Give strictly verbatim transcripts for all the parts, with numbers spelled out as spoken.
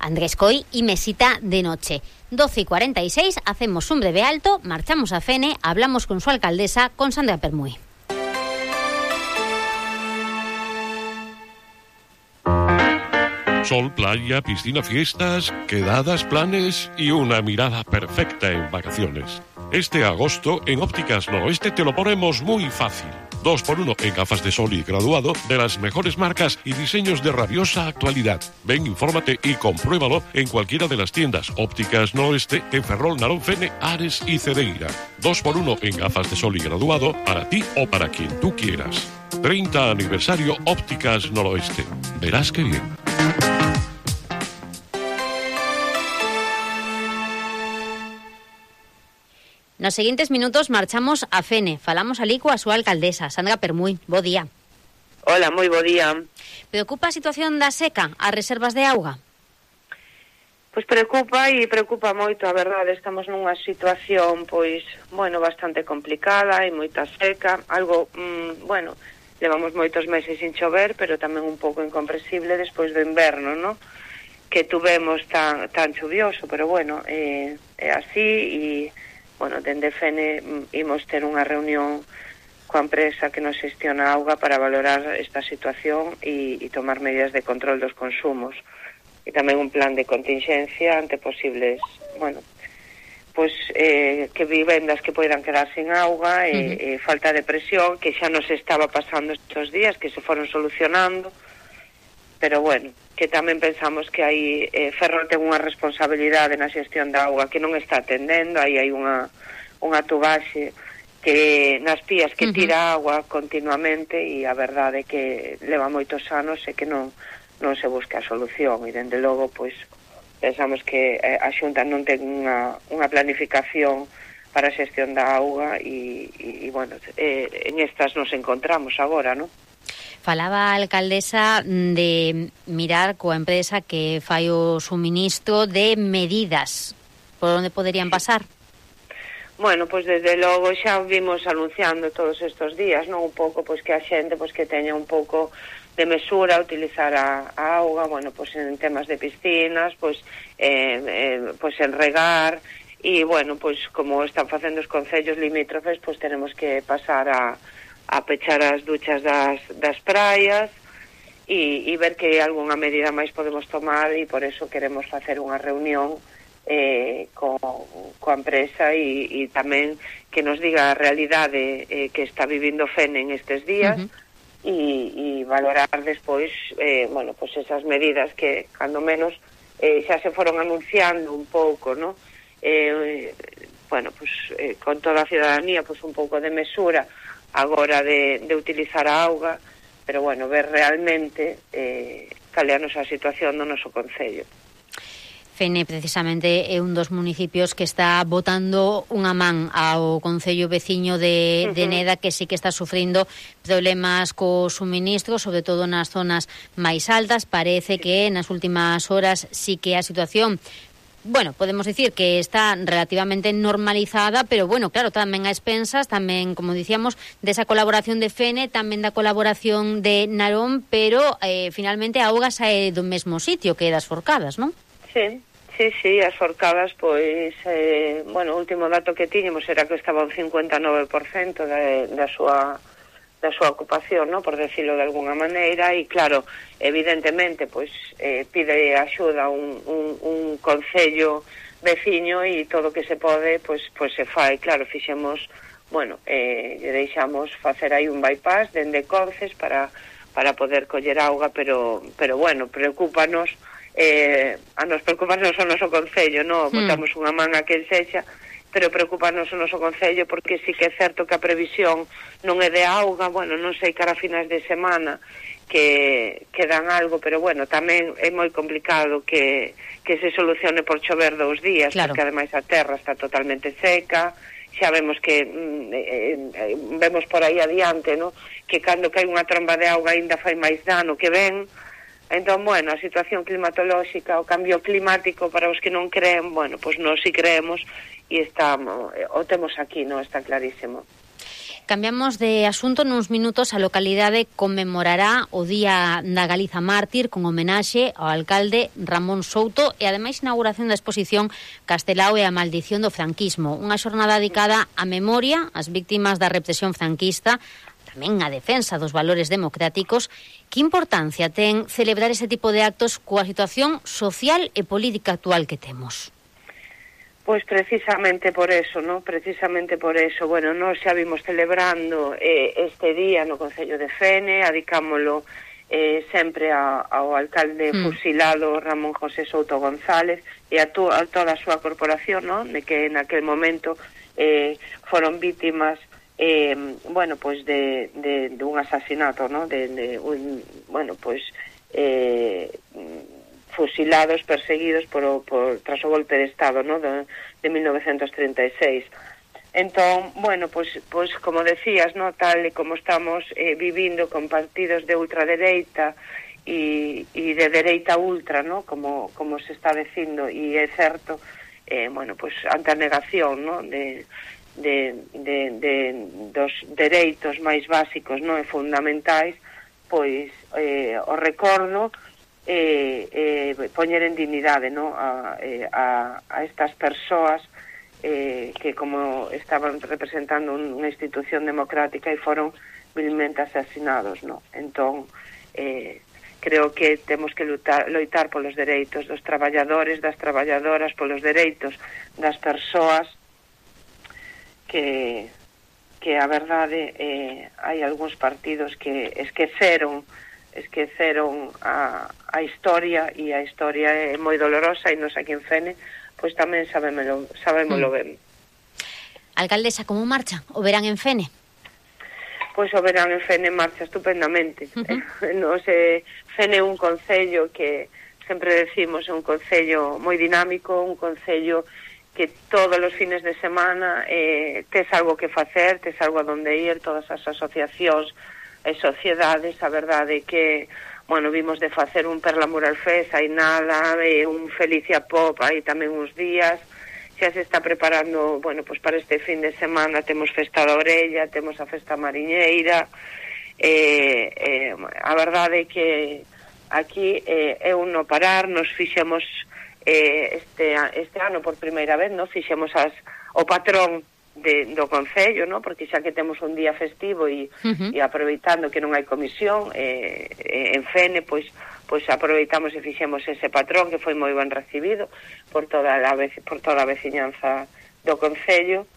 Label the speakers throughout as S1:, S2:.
S1: Andrés Coy y Mesita de Noche. doce y cuarenta y seis, hacemos un breve alto, marchamos a Fene, hablamos con su alcaldesa, con Sandra Permuy.
S2: Sol, playa, piscina, fiestas, quedadas, planes y una mirada perfecta en vacaciones. Este agosto en Ópticas Noroeste te lo ponemos muy fácil. Dos por uno en gafas de sol y graduado de las mejores marcas y diseños de rabiosa actualidad. Ven, infórmate y compruébalo en cualquiera de las tiendas Ópticas Noroeste en Ferrol, Narón, Fene, Ares y Cedeira. Dos por uno en gafas de sol y graduado para ti o para quien tú quieras. treinta aniversario Ópticas Noroeste. Verás qué bien.
S1: Nos seguintes minutos marchamos a Fene. Falamos alí coa súa alcaldesa, Sandra Permuy. Bo día.
S3: Hola, moi bo día.
S1: Preocupa a situación da seca, as reservas de auga?
S3: Pois preocupa e preocupa moito, a verdade. Estamos nunha situación, pois, bueno, bastante complicada e moita seca. Algo, mmm, bueno, levamos moitos meses sin chover, pero tamén un pouco incomprensible despois do inverno, ¿no? Que tuvemos tan, tan chuvioso, pero bueno, eh, é así e... Bueno, dende Fene imos ter unha reunión coa empresa que nos xestiona a auga para valorar esta situación e, e tomar medidas de control dos consumos. E tamén un plan de contingencia ante posibles, bueno, pois eh, que vivendas que poidan quedar sin auga e, uh-huh. e falta de presión, que xa nos estaba pasando estes días, que se foron solucionando, pero bueno, que tamén pensamos que aí eh, Ferrol ten unha responsabilidade na xestión da auga que non está atendendo. Aí hai unha, unha tubaxe que nas pías que tira auga continuamente e a verdade é que leva moitos anos e que non, non se busca a solución e dende logo pois pensamos que eh, a Xunta non ten unha, unha planificación para a xestión da auga e, e, e bueno, eh, en estas nos encontramos agora, non?
S1: Falaba a alcaldesa de mirar coa empresa que fai o suministro de medidas. Por onde poderían pasar?
S3: Bueno, pois desde logo xa vimos anunciando todos estes días, non, un pouco pois que a xente pois que teña un pouco de mesura a utilizar a, a auga, bueno, pois en temas de piscinas, pois eh, eh, pois en regar e bueno, pois como están facendo os concellos limítrofes, pois tenemos que pasar a a pechar as duchas das, das praias e, e ver que algunha medida máis podemos tomar e por eso queremos facer unha reunión eh, co, coa empresa e, e tamén que nos diga a realidade eh, que está vivindo Fene en estes días uh-huh. e, e valorar despois eh, bueno, pues esas medidas que cando menos eh, xa se foron anunciando un pouco, ¿no? Eh, bueno, pues eh, con toda a ciudadanía pues un pouco de mesura agora de, de utilizar a auga, pero bueno, ver realmente eh, cal é a nosa situación no noso concello.
S1: Fene, precisamente, é un dos municipios que está botando unha man ao concello veciño de, uh-huh. de Neda, que sí que está sufrindo problemas co suministro, sobre todo nas zonas máis altas. Parece que nas últimas horas sí que a situación, bueno, podemos dicir que está relativamente normalizada, pero bueno, claro, tamén a expensas, tamén, como dicíamos, desa colaboración de Fene, tamén da colaboración de Narón, pero eh, finalmente a auga sae do mesmo sitio que das Forcadas, non?
S3: Sí, sí, sí, as Forcadas, pois, eh, bueno, o último dato que tiñemos era que estaba un cincuenta e nove por cento da, da súa da súa ocupación, ¿no? Por decirlo de alguna maneira, e claro, evidentemente, pois eh, pide axuda un, un, un concello veciño e todo o que se pode, pois, pois se fai. Claro, fixemos, bueno, eh, deixamos facer aí un bypass dende Conces para, para poder coller auga, pero, pero bueno, preocúpanos, eh, a nos preocupanos o noso concello, ¿no? Hmm. Botamos unha man a quen sexa, pero preocuparnos o noso concello porque sí que é certo que a previsión non é de auga, bueno, non sei cara a finais de semana que, que dan algo, pero bueno, tamén é moi complicado que, que se solucione por chover dous días, claro. Porque ademais a terra está totalmente seca, xa vemos que mm, eh, eh, vemos por aí adiante, ¿no? Que cando cae unha tromba de auga ainda fai máis dano que ven. Entón, bueno, a situación climatolóxica, o cambio climático, para os que non creen, bueno, pois pues nós si creemos e estamos, o temos aquí, non? Está clarísimo.
S1: Cambiamos de asunto nuns minutos. A localidade conmemorará o Día da Galiza Mártir con homenaxe ao alcalde Ramón Souto e ademais inauguración da exposición Castelao e a maldición do franquismo, unha xornada dedicada á memoria, ás víctimas da represión franquista, tamén a defensa dos valores democráticos. Que importancia ten celebrar ese tipo de actos coa situación social e política actual que temos?
S3: Pois precisamente por eso, ¿no? Precisamente por eso. Bueno, nós xa vimos celebrando eh, este día no Concello de Fene, adicámolo eh, sempre a, ao alcalde mm. fusilado Ramón José Souto González e a, to, a toda a súa corporación, ¿no? De que en aquel momento eh, foron vítimas eh, bueno, pois de, de, de un asasinato, ¿no? De, de un, bueno, pois eh, fusilados, perseguidos por, por tras o golpe de Estado, ¿no? de, de mil novecientos treinta e seis. Entón, bueno, pois, pois como decías, ¿no? Tal e como estamos eh, vivindo con partidos de ultradereita e, e de dereita ultra, ¿no? Como, como se está dicindo, e é certo, eh, bueno, pois ante a negación, ¿no? de, de, de, de dos dereitos máis básicos, ¿no? E fundamentais, pois eh, o recordo Eh, eh, poñer en dignidade, ¿no? a, eh, a, a estas persoas eh, que como estaban representando unha institución democrática e foron vilmente asasinados, ¿no? Entón eh, creo que temos que lutar, loitar polos dereitos dos traballadores, das traballadoras, polos dereitos das persoas que que a verdade eh, hai algúns partidos que esqueceron esqueceron a, a historia, e a historia é moi dolorosa, e nos aquí en Fene pois tamén sabémolo, sabémolo mm. ben.
S1: Alcaldesa, como marcha o verán en Fene?
S3: Pois o verán en Fene marcha estupendamente. Uh-huh. Nos, eh, Fene é un concello que sempre decimos é un concello moi dinámico, un concello que todos os fines de semana eh, tes algo que facer, tes algo a donde ir, todas as asociacións e sociedades. A verdade é que, bueno, vimos de facer un Perlamural Fest, hai nada, e un Felicia Pop, hai tamén uns días, xa se está preparando, bueno, pois para este fin de semana temos Festa da Orella, temos a Festa Mariñeira, e, eh, a verdade é que aquí eh, é un no parar, nos fixemos eh, este, este ano por primeira vez, no? Fixemos as, o patrón De, do Concello, ¿no? Porque xa que temos un día festivo e, uh-huh. e aproveitando que non hai comisión eh, eh, en Fene, pois pois aproveitamos e fixemos ese patrón que foi moi ben recibido por toda a vez, por toda a veciñanza do Concello.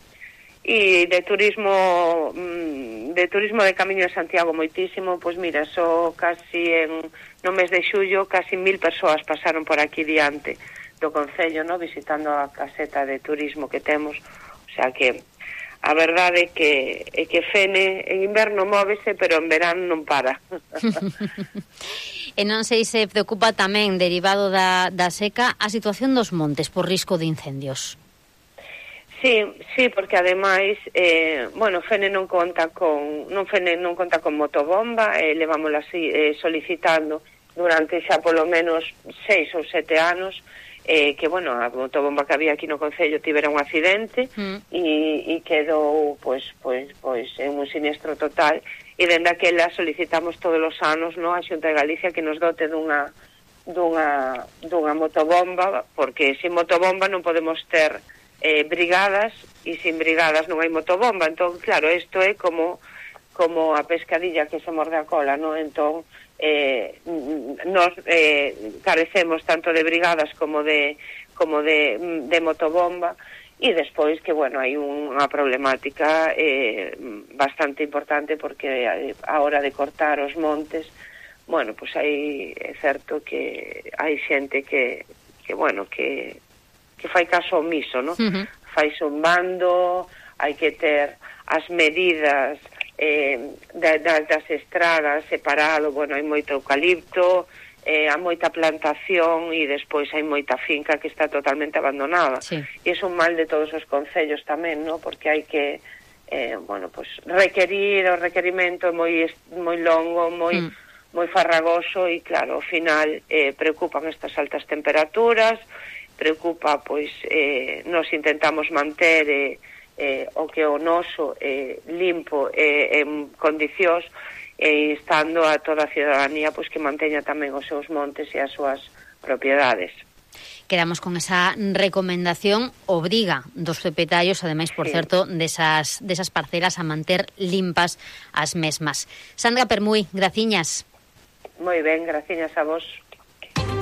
S3: E de turismo de turismo de Camiño de Santiago moitísimo, pois mira, só casi en no mes de xullo casi mil persoas pasaron por aquí diante do Concello, ¿no? Visitando a caseta de turismo que temos. O sea que a verdade é que é que Fene en inverno móvese, pero en verán non para.
S1: E non sei se preocupa tamén, derivado da, da seca, a situación dos montes por risco de incendios.
S3: Sí, sí, porque ademais, eh, bueno, Fene non conta con non Fene non conta con motobomba, eh, levámola así, eh, solicitando durante xa polo menos seis ou sete anos. Eh, que, bueno, a motobomba que había aquí no Concello tivera un accidente mm. e, e quedou, pois, pois, pois, en un sinistro total, e dende aquela solicitamos todos os anos, no, a Xunta de Galicia que nos dote dunha, dunha, dunha motobomba, porque sin motobomba non podemos ter eh, brigadas, e sin brigadas non hai motobomba. Entón, claro, isto é como, como a pescadilla que se morde a cola, no? Entón, Eh, nos eh, carecemos tanto de brigadas como de como de, de motobomba, e despois que, bueno, hai unha problemática eh, bastante importante porque a hora de cortar os montes, bueno, pois pues hai, é certo que hai xente que, que bueno, que, que fai caso omiso, no? Uh-huh. Fai zumbando, hai que ter as medidas eh, das, das estradas separado, bueno, hai moito eucalipto, eh, hai moita plantación e despois hai moita finca que está totalmente abandonada. Sí. E é un mal de todos os concellos tamén, ¿no? Porque hai que eh, bueno, pues requerir, o requerimento é moi, moi longo, moi, mm. moi farragoso e claro, ao final eh, preocupan estas altas temperaturas, preocupa, pois, eh, nos intentamos manter eh, eh, o que o noso eh, limpo eh, en condicións, e instando a toda a ciudadanía pois que manteña tamén os seus montes e as súas propiedades.
S1: Quedamos con esa recomendación, obriga dos propietarios, ademais, por sí. certo, desas, desas parcelas a manter limpas as mesmas. Sandra Permuy, graciñas.
S3: Moi ben, graciñas a vos.